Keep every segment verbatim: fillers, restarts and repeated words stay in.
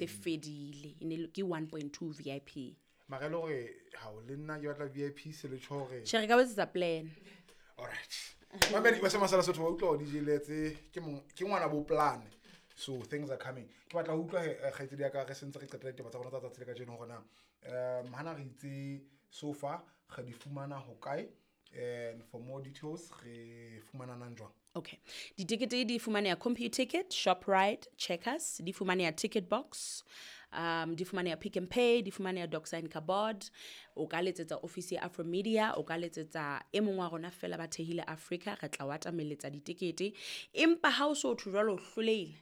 Se fedile, e ne ke one point two V I P. Mara e le hore ha o le nna ke batla V I P se le tjho hore Tjhe, re ka etsa plan. All right. Mamedi ba se masala sotho ba utlwa D J Letse ke mong ke ngwana bo plan. So things are coming. Ke batla ho utlwa he kgaitsedi ya ka re sentse re qetela ditaba tsa rona tsa tsatsi le kajeno hore na, um, hana re itse so far re di fumana ho kae, and for more details re fumana nang jwang? Okay. Ditikete di fumaneha Computicket, Shoprite, Checkers, di fumaneha Ticket Box, um, di fumaneha Pick n Pay, di fumaneha Doxa and Cupboard. O ka letsetsa office ya Afro Media, o ka letsetsa e mong wa rona fela ba thehile Africa, re tla wa atameletsa ditikete. Empa ha o so thwe jwalo o hlolehile,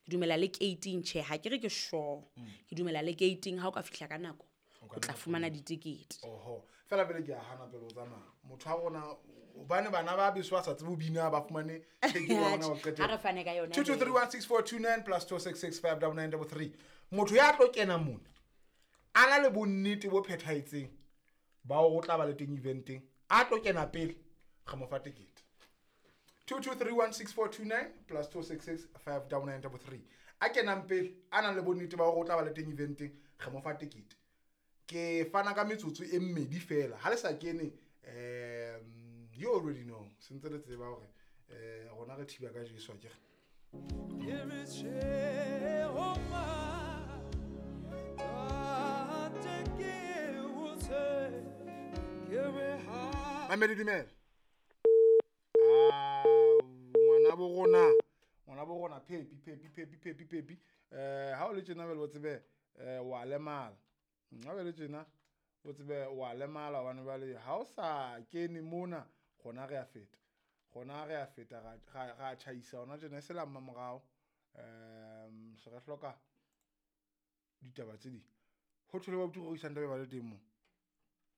ke dumela le gating, tjhe, ha ke re ke sure. Mm. Ke dumela le gating ha o ka fihla ka nako, O ka o tla nna fumana fumana. ditikete. Oho, fela pele ke a hana pele o tsamaya. Motho wa rona, hobane bana ba beso ba sa tsebe ho bina, ba fumane theke wa rona wa qetela. Ha re fane ka yona Two two he. three one six four two nine plus two six six five double nine double three. Motho ya tlo kena mona, a na le bonnete bo phethahetseng ba hore o tla ba le teng eventeng, a tlo kena pele, re mo fa tekete. Two two three one six four two nine plus two six six five double nine double three. A kenang pele, a nang le bonnete ba hore o tla ba le teng eventeng, re mo fa tekete. Ke fana ka metsotso e mmedi fela. Ha le sa kene, um, you already know. Sentse le tseba hore, eh, rona re thiba ka Jesu akere. Mamedi, dumela. Ah, ngwana bo rona, ngwana bo rona, Pepi, Pepi, Pepi, Pepi, Pepi. Eh, ha o le tjena jwale o tsebe, eh, wa lemala. Ha o le tjena, o tsebe wa lemala hobane jwale ha o sa kene mona, rona re a feta. Rona re a feta, ra, ra, ra tjhaisa hona tjena, e se la mmamorao. Ehm, se re hloka ditaba tse ding. Ho thole ba botho rorisang taba ba le teng moo.